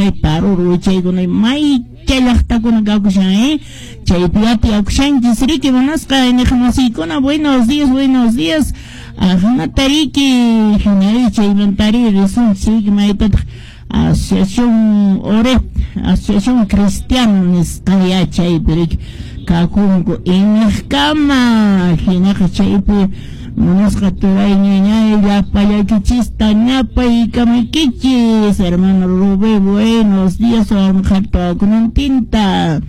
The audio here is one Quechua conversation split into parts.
Haqay Paruro wichaykuna maycha llaqtakuna kakushan, chaypi tiyakushanchis riki munasqa iñiqmasiykuna. Buenos días, buenos días. Ajnata riki hinari chaymantari risunchis riki maytataq Asociación Oret, Asociación Cristiana nisqa chaypi riki kakunku iñiqkama hinaqa chaypi munasqa turay ñañay llapallaykichista ñapaykamaykichis. Hermano Rubén, buenos días, warmiqhatukunantinta.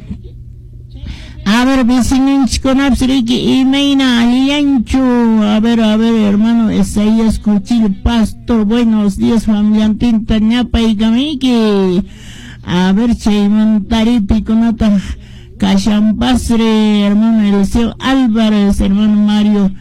A ver, vecinonchikunapas riki imayna allillanchu. A ver, hermano Isaías Cuchillo Pastor, buenos días, familiantinta ñapaykamayki. A ver, chaymantari pikunataq kashanpasri, hermano Eliseo Álvarez, hermano Mario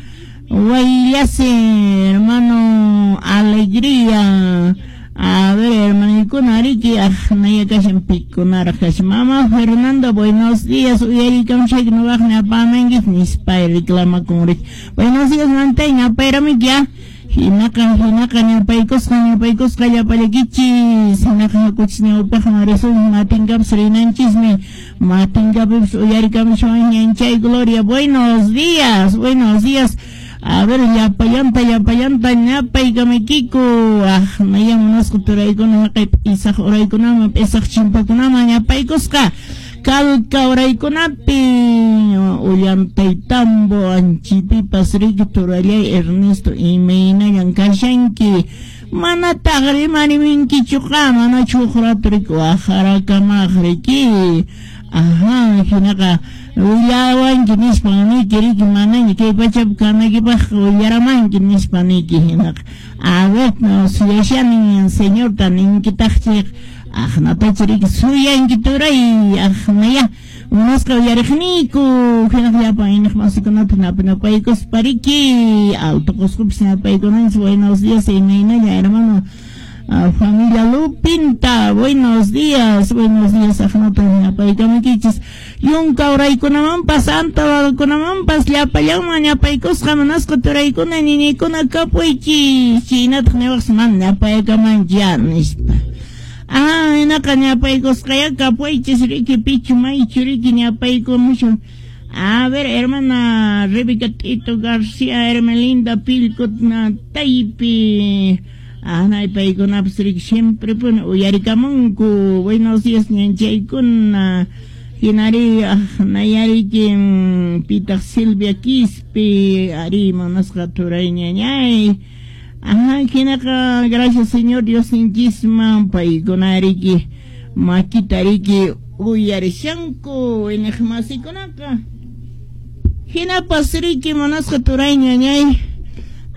Guayllase, hermano Alegría. A ver, hermanikuna riki aqnaya kashan pikunaraq kashan. Mamá Fernanda, buenos días, uyarikamshayki nuqaq ñapamankis nispa reclamakun riki. Buenos días, mantay ñapayramiki ya. Hinaqa hinaqa ñapaykusqa ñapaykusqa llapallakichis. Hinaqa hakuchis ñawpaqman risun matinkapas rinanchismi. Matinkapipas uyarikamshawan ñanchay Gloria. Buenos días, buenos días. A ver, llapallanta llapallanta ñapaykamaykiku. Aqnaya munasqa turaykuna haqay p'isaq uraykunaman p'isaq chimpakunaman ñapaykusqa. Calca uraykunapi Ollantaytambo anchipipas riki turallay Ernesto imaynallan kashanki. Manataq rimariminkichuqa manachu huk rato riki waqharakamaq riki. Ajá, hinaqa willawanki nispa niki riki manaña kay pachapi kanaykipaqqa willaramanki nispa niki hinaqa. A ver, no, suyashani señorta ninkitaq chayqa aqnatacha riki suyanki turay aqnaya munasqa uyariqniyku hinaqa llapan iñiqmasikunata napaykuspa riki Alto Qosqopis napaykunanchis. Buenos días, imaynalla hermano familia Lupinta, buenos días, buenos días, aqnata ñapaykamaykichis. Yunka uraykunamanpas Antawakunamanpas llapallanman ñapaykusqa munasqa turaykuna ñiñaykuna kapuychis. Chaynataq niwaqsi mana ñapaykamanchi ya nispa. Ah, hinaqa ñapaykusqaya kapuychis riki pichu maychu riki ñapaykumushan. A ver, hermana Rebeca Tito García, Hermelinda Pilcotna Taypi. Anay paykunapas riki siempre puni uyarikamunku. Buenos días ñanchaykuna. Hinari aqnayariki pitaq Silvia Quispe, ari munasqa turay ñañay. Ajá, hinaqa gracias Señor Dios ninchisman paykuna riki makita riki uyarishanku iñiqmasikunaqa. Hinapas riki munasqa turay ñañay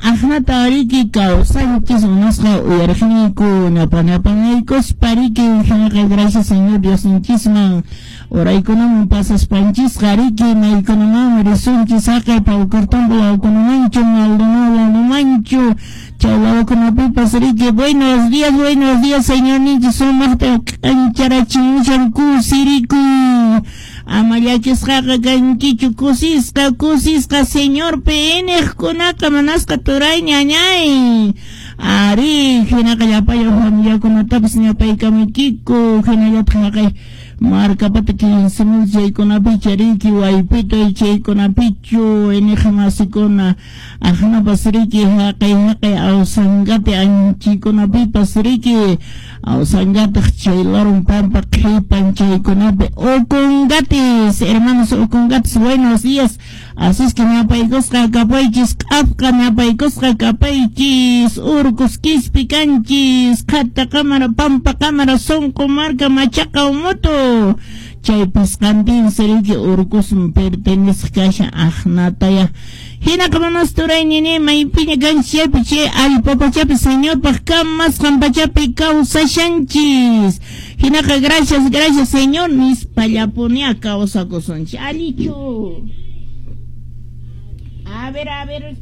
aqnata riki kawsanchis munasqa uyariqniyku ñapanaykuspa riki hinaqa gracias Señor Dios ninchisman uraykunaman pasaspanchisqa riki maykunamanmi risunchis haqay Paucartambo lawkunamanchu Maldonado lawkunamanchu chay lawkunapipas riki buenos días Señor ninchis sumaqta k'ancharachimushan kusirikuy. Ama llakisqaqa kankichu kusisqa kusisqa Señorpi iñiqkunaqa munasqa turay ñañay. Ari hinaqa llapallan familiakunatapas ñapaykamaykiku hinallataq haqay markapata 15,000 chaykunapicha riki waypita chaykunapichu iñiqmasikuna aqnapas riki haqay haqay Awsangate anchikunapipas riki Awsangataq chay larun pampa qhipan chaykunapi Ocongates, hermanos Ocongates, buenos días. Así es que ñapaykusqa kapaychis q'apqa ñapaykusqa kapaychis urcus quispi kanchis qhata cámara pampa cámara sonqo marca machaca umuto chay pisqantin riki urcusman pertenece kashan aqnataya. Hinaqa manas turay ñiñay maypiña kanchis chaypi chay allpa pachapi Señorpaq kamasqan pachapi kawsashanchis. Hinaqa gracias, gracias Señor nispallapunia kawsakusunchis. Allichu. A ver,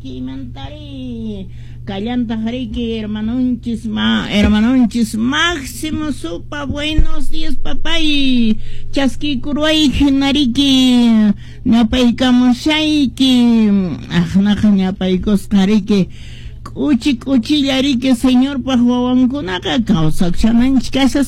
kimantari kallantaq riki hermanonchis hermanonchis Máximo Supa, buenos días papay. Chaskikurway hinariki ñapaykamushayki aqnaqa ñapaykusqa riki k'uchi k'uchilla riki Señorpaq wawankunaqa kawsakushananchik kashas.